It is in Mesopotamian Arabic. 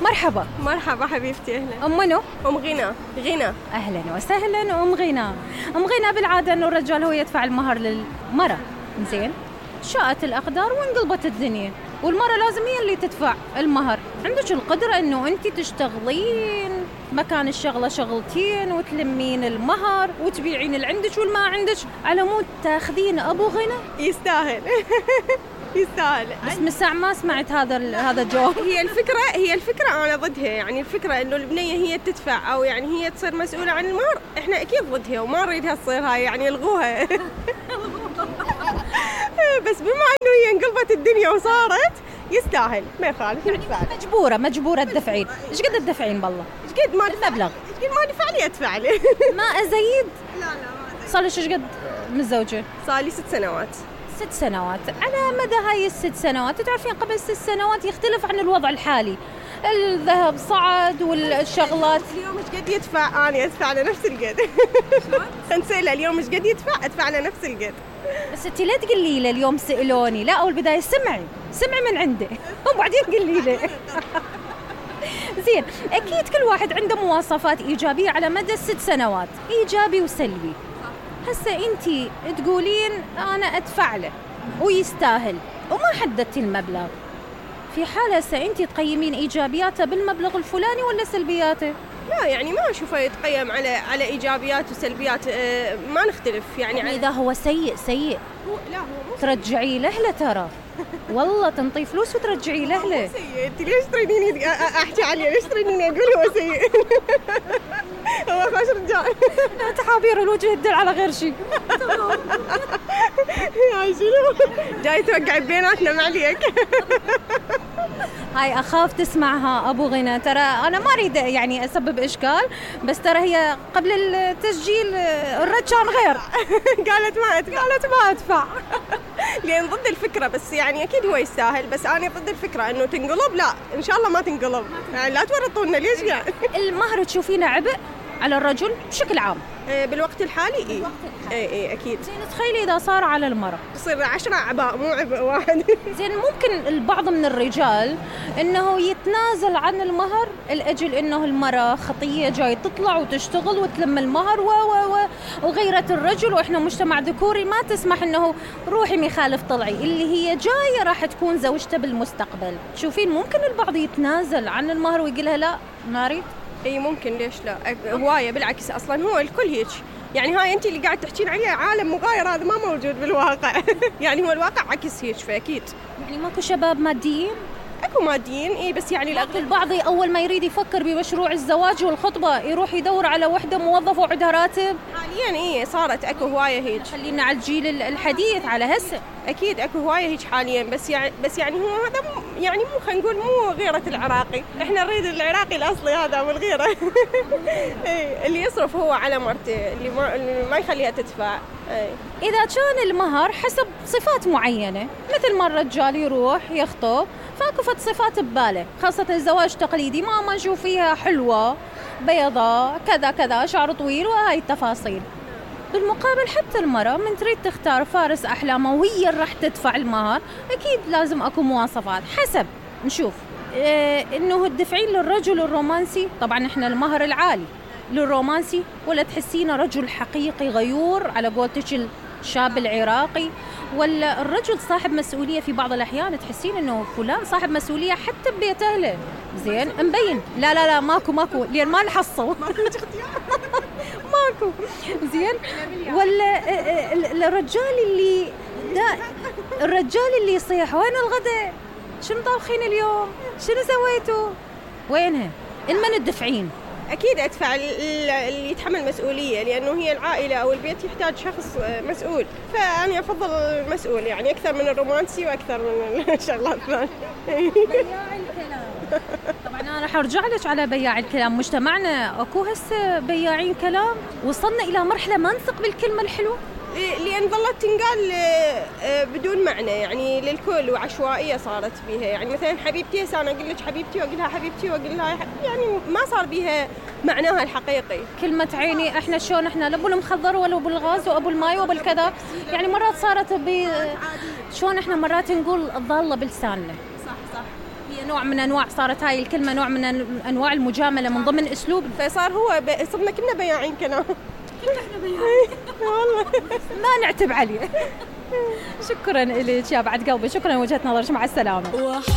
مرحبا. مرحبا حبيبتي، أهلا. أم منو؟ أم غنى. غنى. أهلا وسهلا أم غنى. أم غنى بالعادة إنه الرجال هو يدفع المهر للمرأة، زين؟ شاءت الأقدار وانقلبت الدنيا، والمرأة لازم هي اللي تدفع المهر. عندك القدرة إنه أنت تشتغلين مكان الشغلة شغلتين وتلمين المهر وتبيعين اللي عندك والما عندك على مود تاخذين أبو غنى؟ يستاهل. يستاهل. بس من ساعة ما سمعت هذا الجواب. هي الفكرة أنا ضدها، يعني الفكرة إنه البنية هي تدفع أو يعني هي تصير مسؤولة عن المهر، إحنا أكيد ضدها وما نريدها تصير هاي، يعني الغوها. بس بما إنه هي انقلبت الدنيا وصارت يستاهل، ما يخالف يعني مجبورة تدفعين. إيش قد تدفعين بالله؟ إيش قد ما المبلغ؟ إيش قد ما دفع لي أدفع لي. ما أزيد؟ لا صار لك إيش قد متزوجة؟ صار لي 6 سنوات. 6 سنوات. على مدى هاي ال6 سنوات تعرفين قبل 6 سنوات يختلف عن الوضع الحالي، الذهب صعد والشغلات. اليوم ايش قد يدفع؟ أنا أدفع على نفس القد. نسأله اليوم ايش قد يدفع؟ أدفع على نفس القد. بس انتي لا تقولي له اليوم سألوني، لا، أول بداية سمعي من عنده وبعدين قولي له. زين، أكيد كل واحد عنده مواصفات إيجابية على مدى 6 سنوات، إيجابي وسلبي. هسه انتي تقولين أنا أدفع له ويستاهل وما حددتي المبلغ، في حالة هسه انتي تقيمين إيجابياته بالمبلغ الفلاني ولا سلبياته؟ لا يعني ما أشوفه يتقيم على إيجابيات وسلبيات، ما نختلف يعني إذا هو سيء لا هو ترجعي له ترى، والله تنطي فلوس وترجعي له. هو سيء. انت ليش تريديني احكي عليه؟ ليش تريديني اقول هو سيء؟ هو خوش رجال. تحابير الوجه تدل على غير شيء. يا شنو جاي توقعي بيناتنا معليك. هاي أخاف تسمعها أبو غنى، ترى أنا ما أريد يعني أسبب إشكال، بس ترى هي قبل التسجيل الرد كان غير. قالت ما أدفع. لأن ضد الفكرة، بس يعني أكيد هو يستاهل، بس أنا ضد الفكرة إنه تنقلب، لا إن شاء الله ما تنقلب، يعني لا تورطونا. ليش يعني؟ المهر تشوفينه عبء على الرجل بشكل عام بالوقت الحالي؟ إيه أكيد. زين، تخيلي إذا صار على المرأة يصير 10 أعباء مو عبء واحد. زين، ممكن البعض من الرجال إنه يتنازل عن المهر لأجل إنه المرأة خطية جاي تطلع وتشتغل وتلم المهر وغيرة الرجل، وإحنا مجتمع ذكوري ما تسمح إنه روحي مخالف طلعي، اللي هي جاية راح تكون زوجته بالمستقبل. تشوفين ممكن البعض يتنازل عن المهر ويقولها لا ما أريد؟ اي ممكن، ليش لا؟ هوايه بالعكس، اصلا هو الكل هيك، يعني هاي انت اللي قاعد تحكين عليه عالم مغاير، هذا ما موجود بالواقع. يعني هو الواقع عكس هيك، فاكيد يعني ماكو شباب ماديين؟ اكو ماديين اي، بس يعني البعض اول ما يريد يفكر بمشروع الزواج والخطبه يروح يدور على وحده موظفه وعندها راتب. حاليا اي صارت اكو هوايه هيك. خلينا على الجيل الحديث على هسه. اكيد اكو هوايه هيك حاليا، بس يعني هو هذا يعني مو خلينا نقول مو غيره العراقي، احنا نريد العراقي الاصلي هذا والغيره. اللي يصرف هو على مرته، اللي ما يخليها تدفع. اذا كان المهر حسب صفات معينه، مثل ما الرجال يروح يخطب فاكو فد صفات بباله، خاصه الزواج التقليدي ما نشوف فيها حلوه بيضاء كذا كذا شعر طويل وهاي التفاصيل. بالمقابل حتى المرأة من تريد تختار فارس أحلامها وهي راح تدفع المهر، أكيد لازم أكو مواصفات حسب نشوف إنه تدفعين للرجل الرومانسي، طبعا إحنا المهر العالي للرومانسي، ولا تحسينه رجل حقيقي غيور على قولتك الشاب العراقي، ولا الرجل صاحب مسؤولية. في بعض الأحيان تحسين إنه فلان صاحب مسؤولية حتى ببيت أهله، زين مبين. لا ماكو لين ما نحصل. ماكو زين. ولا الرجال اللي يصيح وين الغداء، شنو طابخين اليوم، شنو سويتوا، وينها المن الدفعين. أكيد أدفع اللي يتحمل مسؤولية، لأنه هي العائلة أو البيت يحتاج شخص مسؤول، فأنا أفضل المسؤول يعني أكثر من الرومانسي وأكثر من الشغلات الثانية. بياع الكلام. طبعا أنا راح أرجع لك على بياع الكلام. مجتمعنا أكو هسه بياعين كلام، وصلنا إلى مرحلة ما نثق بالكلمة الحلوة، لأن ظلت تنقال بدون معنى يعني للكل، وعشوائية صارت بيها. يعني مثلا حبيبتي، أنا أقول لك حبيبتي وأقولها حبيبتي وأقولها، يعني ما صار بيها معناها الحقيقي. كلمة عيني، إحنا شلون إحنا لأبو المخضر ولا أبو الغاز وأبو الماي وأبو الكذا، يعني مرات صارت شلون إحنا مرات نقول ضالة بلساننا. صح. هي نوع من أنواع، صارت هاي الكلمة نوع من أنواع المجاملة من ضمن أسلوب، فصار هو صرنا كلنا بياعين كلام. كلنا احنا بياعين والله ما نعتب عليه. شكرا لك يا بعد قلبي، شكرا لوجهة نظرك، مع السلامة.